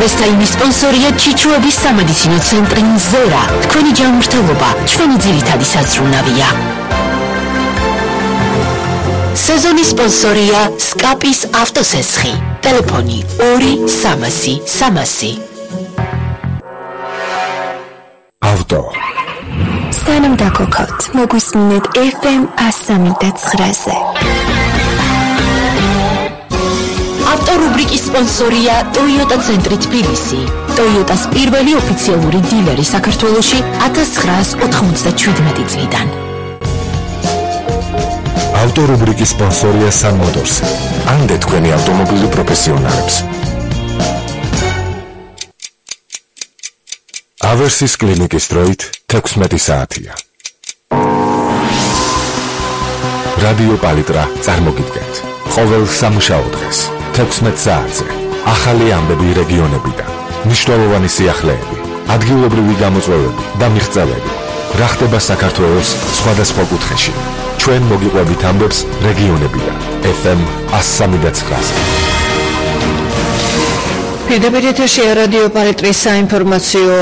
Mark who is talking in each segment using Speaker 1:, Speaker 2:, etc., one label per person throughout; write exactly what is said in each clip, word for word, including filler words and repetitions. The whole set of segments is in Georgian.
Speaker 1: პრეს-ტაიმის სპონსორია ჩიჩუების სამედიცინო ცენტრი მზერა. თქვენი ჯანმრთელობა ჩვენი ძირითადი საზრუნავია. სეზონის სპონსორია სკაპის ავტოსესხი. ტელეფონი ორი სამასი სამასი.
Speaker 2: ავტო
Speaker 3: სანამ დაგოქოთ, მოგვისმინეთ ეფ ემ სამი და ცხრაზე.
Speaker 1: ავტორუბრიკის სპონსორია Toyota ცენტრი თბილისი. Toyotas პირველი ოფიციალური დილერი საქართველოში ათას ცხრაას ოთხმოცდაშვიდმეტი წლიდან.
Speaker 2: ავტორუბრიკის სპონსორია Sun Motors. ამდე თქვენი ავტომობილი პროფესიონალებს. ავერსის კლინიკის დროით თექვსმეტი საათია. რადიო პალიტრა წარმოგიდგენთ ყოველ სამუშაო დღეს თექვსმეტ საათზე ახალი ამბები რეგიონებიდან, მნიშვნელოვანი სიახლეები, ადგილობრივი გამოწვევები და მიღწევები. რა ხდება საქართველოს სხვადასხვა კუთხეში. ჩვენ მოგიყვებით ამბებს რეგიონებიდან. ეფ ემ სამი და ცხრაზე.
Speaker 4: პირდაპირ ეთერში რადიო პალიტრის საინფორმაციო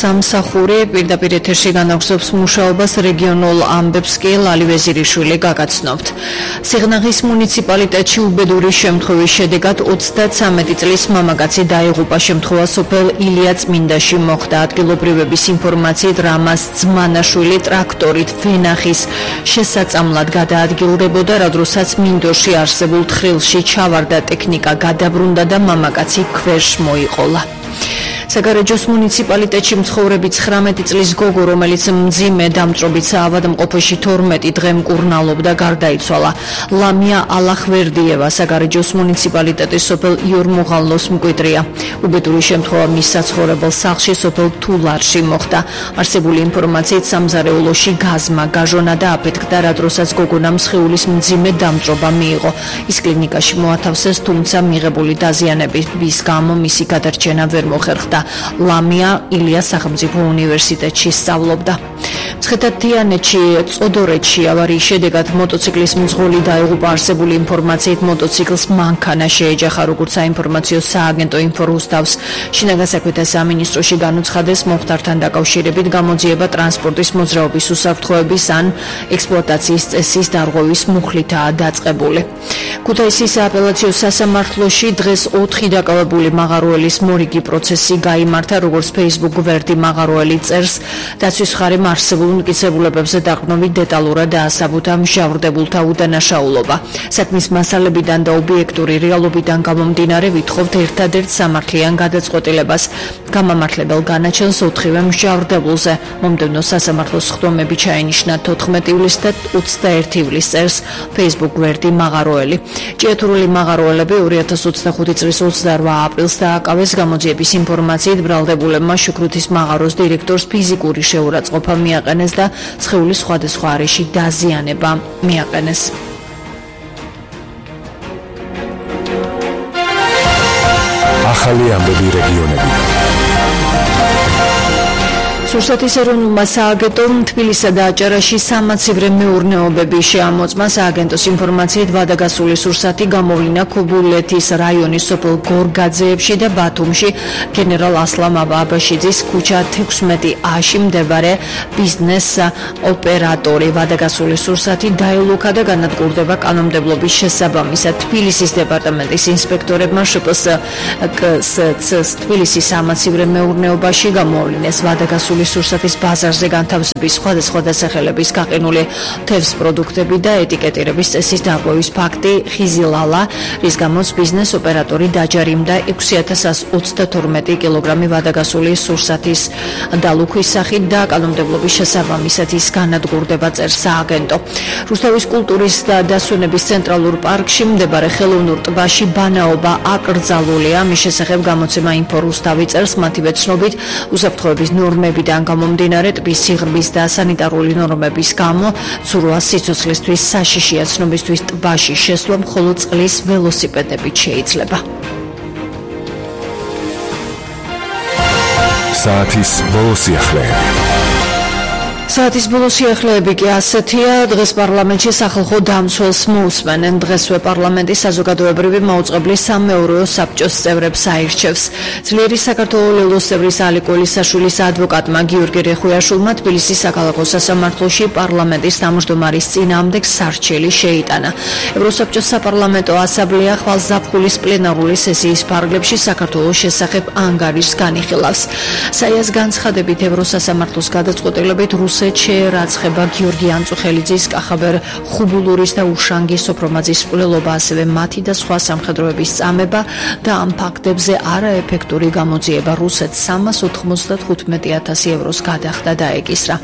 Speaker 4: სამსახური პირდაპირ ეთერში განაგზობს მუშაობას რეგიონულ ამბებს კი ლალი ვეზირიშვილი გაგაცნობთ. სიღნაღის მუნიციპალიტეტში უბედური შემთხვევის შედეგად ოცდათვრამეტი წლის მამაკაცი დაიღუპა. შემთხვევა სოფელ ილია წმინდაში მოხდა. ადგილობრივების ინფორმაციით რამას ძმანაშვილი ტრაქტორით ვენახის შესაწამლად გადაადგილდებოდა, რა დროსაც მინდორში არსებულ თხრილში ჩავარდა ტექნიკა გადაბრუნდა და მამაკაცი ქვეშ მოიყოლა. საგარეჯოს მუნიციპალიტეტში მცხოვრები ცხრამეტი წლის გოგო, რომელიც მძიმე დამწრობით საავადმყოფოში თორმეტი დღე მკურნალობდა, გარდაიცვალა. ლამია ალახვერდიევა საგარეჯოს მუნიციპალიტეტის სოფელ იორმუღალოს მკვიდრია. უბედური შემთხვევა მის საცხოვრებელ სახლში სოფელ თულარში მოხდა. არსებული ინფორმაციით სამზარეულოში გაზმა გაჟონა და აფეთქდა, რა დროსაც გოგონამ სხეულის მძიმე დამწრობა მიიღო. ის კლინიკაში მოათავსეს, თუმცა მიღებული დაზიანების გამო მისი გადარჩენა ვერ მოხერხდა. ლამია ილიას სახელმწიფო უნივერსიტეტში სწავლობდა. მცხეთა-თიანეთში წოდორეთში ავარიის შედეგად მოტოციკლის მძღოლი დაიღუპა. არსებული ინფორმაციით მოტოციკლს მანქანა შეეჯახა, როგორც საინფორმაციო სააგენტო ინფორუსტავს შინაგან საქმეთა სამინისტროში განუცხადეს, მომხდართან დაკავშირებით გამოძიება ტრანსპორტის მოძრაობის უსაფრთხოების ან ექსპლუატაციის წესის დარღვევის მუხლითაა დაწყებული. ქუთაისის სააპელაციო სასამართლოში დღეს ოთხი დაკავებული მაღაროელის მორიგი პროცესი გაიმართა, როგორც Facebook გვერდი მაღაროელი წერს, დაცვის მხარემ არსებულ მტკიცებულებებზე დაყრდნობით დეტალურად დაასაბუთა მჟავრდებულთა უდანაშაულობა. საქმის მასალებიდან და ობიექტური რეალობიდან გამომდინარე ვითხოვთ ერთადერთ სამართლიან გადაწყვეტილებას. გამამართლებელ განაჩენს ოთხივე მჟავრდებულზე. მომდევნო სასამართლოს სხდომები ჩაენიშნა თოთხმეტი ივლისს და ოცდაერთი ივლისს წერს Facebook გვერდი მაღაროელი. ჭიათურული მაღაროელები ორი ათას ოცდახუთი წლის ოცდარვა აპრილს დააკავეს. გამოძიების ინფორმაციით ბრალდებულებმა შუქრუთის მაღაროს დირექტორს ფიზიკური შეურაცხყოფა მიაყენეს და სხეულის სხვადასხვა არეში დაზიანება მიაყენეს.
Speaker 2: ახალი ამბები რეგიონებიდან.
Speaker 4: სურსათის ეროვნულმა სააგენტომ თბილისსა და აჭარაში სამაცივრე მეურნეობები შეამოწმა. სააგენტოს ინფორმაციით ვადაგასული სურსათი გამოვლინდა ქობულეთის რაიონის სოფელ გორგაძეებში და ბათუმში გენერალ ასლამ აბაშიძის ქუჩა თექვსმეტი აში მდებარე ბიზნეს ოპერატორი. ვადაგასული სურსათი დაელოქა და განადგურდება კანონმდებლობის შესაბამისად. თბილისის დეპარტამენტის ინსპექტორებმა შპსკს თბილისის სამაცივრე მეურნეობაში გამოვლინეს ვადაგასული სურსათის ბაზარზე განთავსების სხვადასხვა დასახელების გაყინული თევზ პროდუქტები და ეტიკეტირების წესის დარღვევის ფაქტი ხიზილალა, რის გამოც ბიზნეს ოპერატორი დაჯარიმდა ექვსი ათას ასი ოცდათორმეტი კილოგრამი ვადაგასული სურსათის დალუქვის სახით და კანონმდებლობის შესაბამისად ის განადგურდება, წერს სააგენტო. რუსთავის კულტურის და დასვენების ცენტრალურ პარკში მდებარე ხელოვნურ ტბაში ბანაობა აკრძალულია. მის შესახებ გამოცემა ინფორუსთავი წერს, მათივე ცნობით უსაფრთხოების ნორმები გამომდინარე ტბის სიღრმის და სანიტარული ნორმების გამო ცურვა სიცოცხლისთვის საშიშია. ცნობისთვის ტბაში შესვლა მხოლოდ წყლის ველოსიპედებით შეიძლება.
Speaker 2: საათის ბოლო სიახლეები.
Speaker 4: საათის ბოლო სიახლეები კი ასეთია. დღეს პარლამენტში სახალხო დამცველს მოусმენენ. დღესვე პარლამენტის საზოგადოებრივი მაუწყებლის სამეურვეო საბჭოს წევრებს აირჩევს. ძლიერი საქართველოს ლელოს წევრის ალი კოლისაშვილის ადვოკატმა გიორგი რეხუიაშვილმა თბილისის საქალაქო სასამართლოში პარლამენტის თავმჯდომარის წინააღმდეგ სარჩელი შეიტანა. ევროსაბჭოს საპარლამენტო ასამბლეა ხვალ ზაფხულის პლენარული სესიის ფარგლებში საქართველოს შესახებ ანგარიშს განიხილავს. საიას განცხადებით ევროსასამართლოს გადაწყვეტილებით რუსეთში შეერაცხება გიორგი ანწუხელიძის, კახაბერ ხუბულურის და უშანგი სოფრომაძის მკვლელობა, ასევე მათი და სხვა სამხედროების წამება და ამ ფაქტებზე არაეფექტური გამოძიება რუსეთს სამას ოთხმოცდათხუთმეტი ათასი ევროს გადახდა დაეკისრა.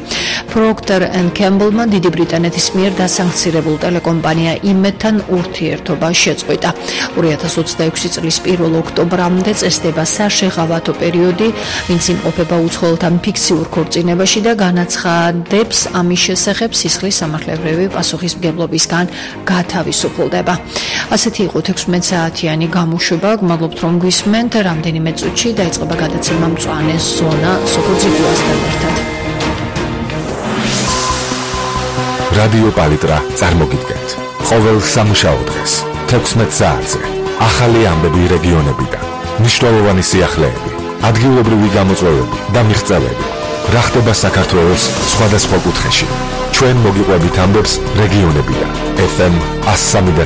Speaker 4: Procter and Gamble-მა დიდი ბრიტანეთის მიერ დასანქცირებულ ტელეკომპანია იმედთან ურთიერთობა შეწყვიტა. ორი ათას ოცდაექვსი წლის პირველ ოქტომბრამდე წესდება საშეღავათო პერიოდი, ვინც იმყოფება უცხოელთან ფიქსიურ ქორწინებაში და განაცხადებს ამის შესახებ სისხლის სამართლებრივი პასუხისმგებლობისგან გათავისუფლდება. ასეთი იყო თექვსმეტ საათიანი გამოშვება. გმადლობთ რომ გვისმენთ. რამდენიმე წუთში დაიწყება გადაცემა მწვანე ზონა სოფოძიგუასთან ერთად.
Speaker 2: რადიო პალიტრა წარმოგიდგენთ. ყოველ სამუშაო დღეს თექვსმეტ საათზე ახალი ამბები რეგიონებიდან, მნიშვნელოვანი სიახლეები, ადგილობრივი გამოწვევები და მიღწევები. რა ხდება საქართველოს სხვადასხვა კუთხეში. ჩვენ მოგიყვებით ამბებს რეგიონებიდან. ეფ ემ one oh three point nine